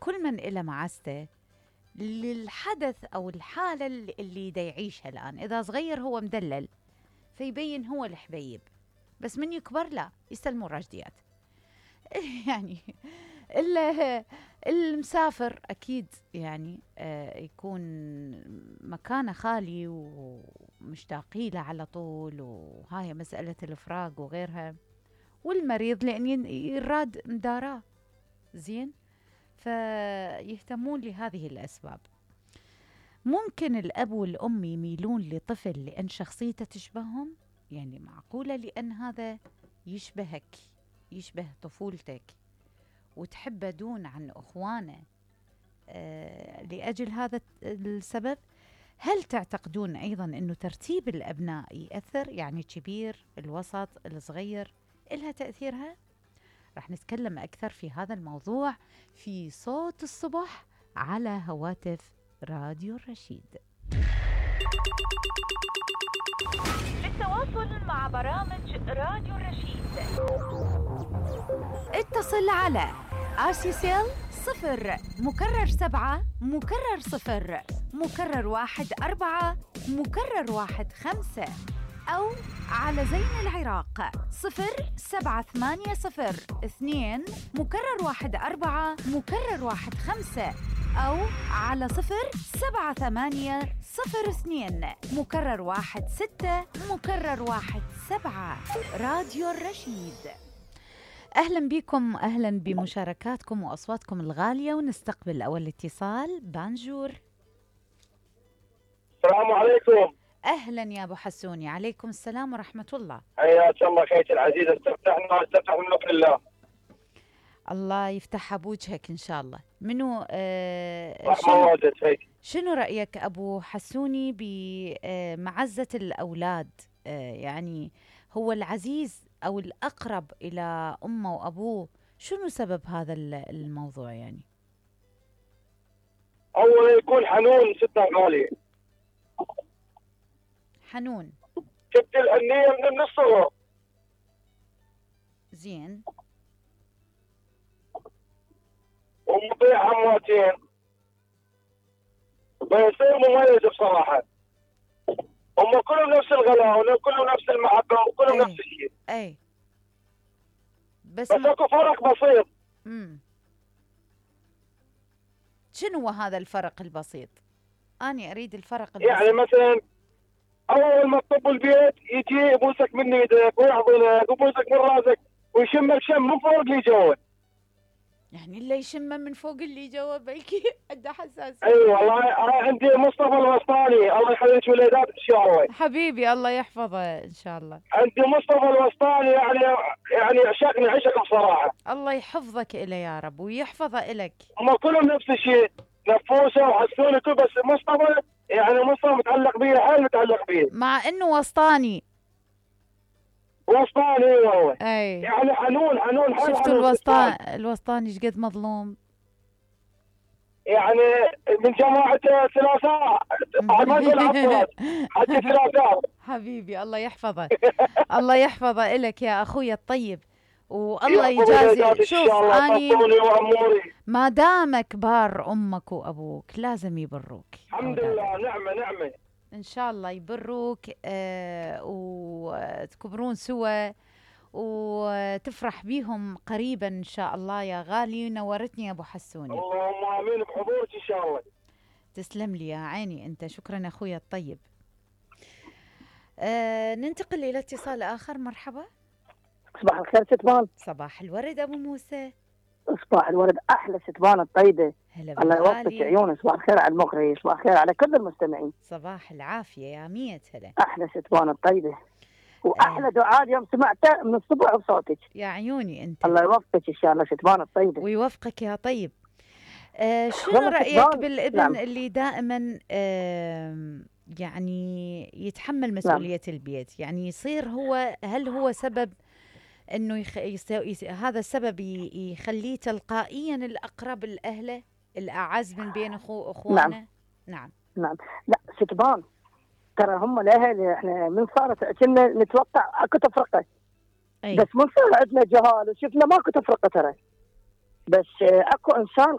كل من إله معزته للحدث أو الحالة اللي دا يعيشها الآن. إذا صغير هو مدلل فيبين هو الحبيب، بس من يكبر لا يستلموا الرجديات. يعني المسافر أكيد يعني يكون مكانه خالي ومشتاقي له على طول، وهاي مسألة الفراق وغيرها. والمريض لأن يراد مداراه زين، فيهتمون لهذه الأسباب. ممكن الأب والأم يميلون لطفل لأن شخصيته تشبههم، يعني معقولة لأن هذا يشبهك، يشبه طفولتك وتحبه دون عن أخوانه لأجل هذا السبب. هل تعتقدون أيضا أنه ترتيب الأبناء يأثر، يعني كبير الوسط الصغير إلها تأثيرها؟ رح نتكلم أكثر في هذا الموضوع في صوت الصبح على هواتف راديو الرشيد. للتواصل مع برامج راديو الرشيد اتصل على RCCL 0 مكرر 7 مكرر 0 مكرر 1 4 مكرر 1 5 أو على زين العراق 07802 مكرر 1 4 مكرر 1 5 أو على 07802 مكرر 1 6 مكرر 1 7. راديو الرشيد. أهلا بكم، أهلا بمشاركاتكم وأصواتكم الغالية. ونستقبل أول اتصال. بانجور. السلام عليكم. أهلا يا أبو حسوني. عليكم السلام ورحمة الله. حياك الله خيتي العزيزة. استفتحنا من نور الله. الله يفتحها بوجهك إن شاء الله. منو شنو رأيك أبو حسوني بمعزة الأولاد؟ يعني هو العزيز أو الأقرب إلى أمه وأبوه، شنو سبب هذا الموضوع؟ يعني أولا يكون حنون ستة غالية، حنون، شفت الأنية من الصغر. زين. ومطيع همواتين بيصير مميز بصراحة. هم كلهم نفس الغلاء وكلهم نفس المحبة وكلهم نفس الشيء. أي بس اكو فرق بسيط. شنو هو هذا الفرق البسيط؟ أنا أريد الفرق البسيط. يعني مثلا أول ما تطب البيت يجي يبوسك من يدك ويحضنك ويبوسك من راسك ويشمك شم من فوق اللي جوا. يعني اللي يشمه من فوق اللي جوا بلكي عنده حساسية. اي والله عندي مصطفى الوسطاني الله يخليك ولادات ان شاء الله. حبيبي الله يحفظه ان شاء الله. عندي مصطفى الوسطاني يعني عشقني عشق بصراحه. الله يحفظك إله يا رب ويحفظه إلك. هم كلهم نفس الشيء، نفوسه وحسوني كل، بس مصطفى يعني مصطفى متعلق بيه، حيل متعلق بيه، مع انه وسطاني. وسطاني والله. اي يعني حنون شفتوا الوسطاني ايش قد مظلوم؟ يعني من جماعة ثلاثاء ما يقول عباس حتى ثلاثاء. حبيبي الله يحفظه. الله يحفظه إلك يا أخوي الطيب، والله يجازي. شوف أني ما دام كبار أمك وأبوك لازم يبروك. الحمد لله. نعمة إن شاء الله يبروك وتكبرون سوا وتفرح بيهم قريبا إن شاء الله يا غالي. نورتني يا أبو حسوني. اللهم آمين بحضورك إن شاء الله. تسلم لي يا عيني أنت. شكرا أخويا الطيب. ننتقل إلى اتصال آخر. مرحبا. صباح الخير ستبان. صباح الورد أبو موسى. صباح الورد أحلى ستبان الطيبة. الله يوفقك عيوني. صباح الخير على المقري، صباح الخير على كل المستمعين. صباح العافية يا مية هلا. أحلى ستبان الطيبة واحلى دعاء اليوم سمعته من الصبح بصوتك. يا عيوني انت. الله يوفقك ان شاء الله ستبان الطيبه. ويوفقك يا طيب. شنو رايك بالابن نعم. اللي دائما يعني يتحمل مسؤوليه نعم. البيت، يعني يصير هو، هل هو سبب انه هذا السبب يخليه تلقائيا الاقرب لاهله، الاعز من بين اخوانه؟ نعم. لا ستبان ترى هم الاهل احنا من صارت كنا نتوقع اكو تفرقه. بس من صار عندنا جهال وشفنا ماكو تفرقه ترى، بس اكو انسان